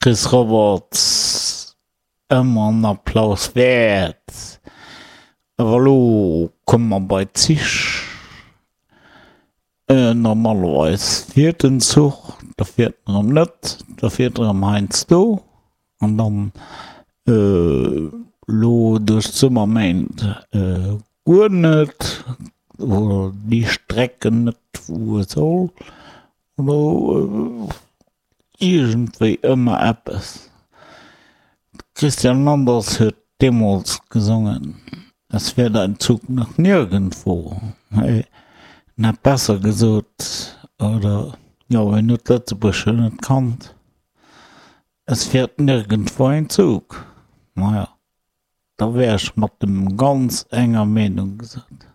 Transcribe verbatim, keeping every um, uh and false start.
Chris Roberts, ëmmer en Applaus wäert. Awer elo komme mer bei d'Zich. Normalerweis fiert den Zuch, da fiert en erëm net, da fiert en erëm heiansdo an dann elo duerch d'Summerméint guer net oder déi Strecken net wou e soll oder iergendwéi ëmmer eppes. De Christian Anders huet deemools gesongen, Es fährt ein Zug nach nirgendwo. Hei en hätt besser gesot, oder jo, en huet d'Lëtzebuergesche net kannt, Es fährt nirgendwo ein Zug. Maja, da wär ech mat em ganz enger Meenung gesot.